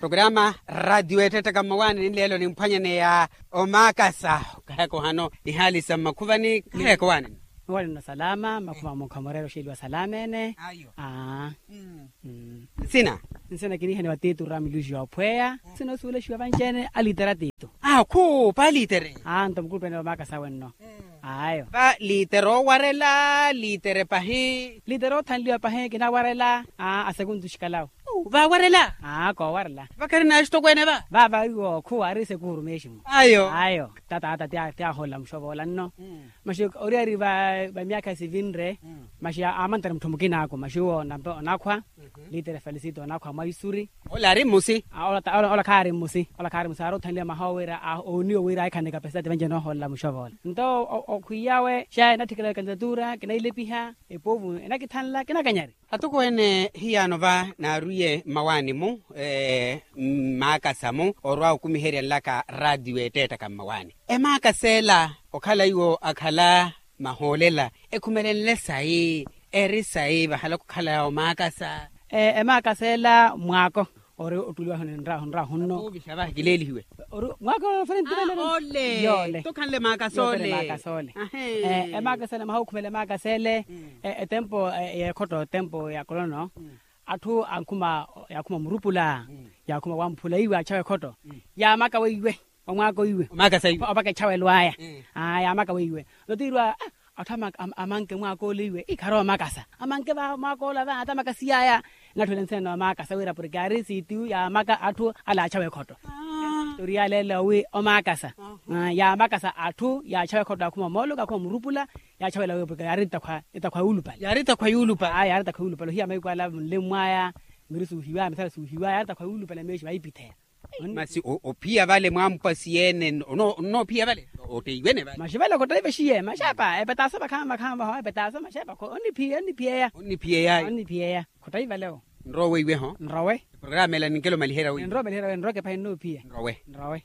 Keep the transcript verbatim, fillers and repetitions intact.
programa ratio ettettaka mmawaanini nleelo nimphwanyaneya omaakasa. Okaheka ohano nihaali sa mmakhuvani kaheka owaanini. Owaanini osalama mmakhuvani mukhamureera oxeeliwa salama ene. Nsina. Nsina kinihaniwa titu ramiluxi yoophweya. Nsina osuwelexiwa vanci-ene alitere atitu. Akhu palitere. Nto mukulupe ene vamaakasa wenno. Ayo. Valitere owarela litere pahi. Litere othanliwa pahi kinawarela. Asekuntu xikalawo. Vawarela. Koowarela. Vakharina axitokweene va. Vava iwo khuwari sekuru meximu. Ayo. Ayo. Tata ata ti aholela muxovoola nno. Maxi oriyari va myakha sivinre. Maxi amantere mutthu mukina aku maxi uwo onakhwa. Litere felisito onakhwa mwa isuri. Ola ari mmusi. Ola khaari mmusi ola khaari mmusi aari othanliwa maha owira ooniwa wira ahikhane kapesitati vanci enoohoolela muxovoola nto okhwiyawe xa enatthikela kandidatura kinailepiha. Epovu enakithanla kinakanyari. Atokweene hiyaano va naarwiye mmawaani-mu. Mmaakasa-mu orwa okumiherya nlaka ratio ettettaka mmawaani. Emaakasa ela okhala iwo akhala mahoolela ekhumelenle sayi? Eri sayi vahala khukhala omaakasa. Emaakasa ela mwaako ori ottuliwa hunrahu nno. Ovixa vahi kileelihiwe. Mwaako ole. Tokhanle maakasa ole. Emaakasa ele maha okhumela emaakasa ele. Etempo yeekhotto etempo ya kolono atthu ankhuma yaakhuma murupula. Yaakhuma wamphula iwe achawa ekhotto. Yaamaka weiwe omwaaka oiwe. Opaka echawelo aya. Yaamaka weiwe notiirwa atthu amanke mwaaka ole iwe ikharowa omakasa amanke va mwaaka ole ava ata amakasiyaya. Natthuwela nsina noomakasa wira porke ari sitiyu yaamaka atthu ale achawa ekhotto. Toriya leelo wi omakasa yaamakasa atthu yaachawa ekhotto akhuma omooluka akhuma murupula. Yaachawela wi porke yaari etakhwa yuulupale. Yaari etakhwa yuulupale ohiya mahiku ala munlemu mwaya. Miri suuhiwaya misala suuhiwaya yaari etakhwa yuulupale meexi vaipitheya. Masi ophiya vale mwampwa siyeene onnoophiya vale? Otteiwene vale. Maxi vale khottai vexiye maxepa epetaaso vakhama vakhama vaho epetaaso maxepa onniphiyaya onniphiyaya. Onniphiyaya khottai vale. Nrowe iweho nrowe. Programa ela ninkelo maliherya wi nrowe maliherya wi nrowe kepahi nnoophiya nrowe. Nrowe.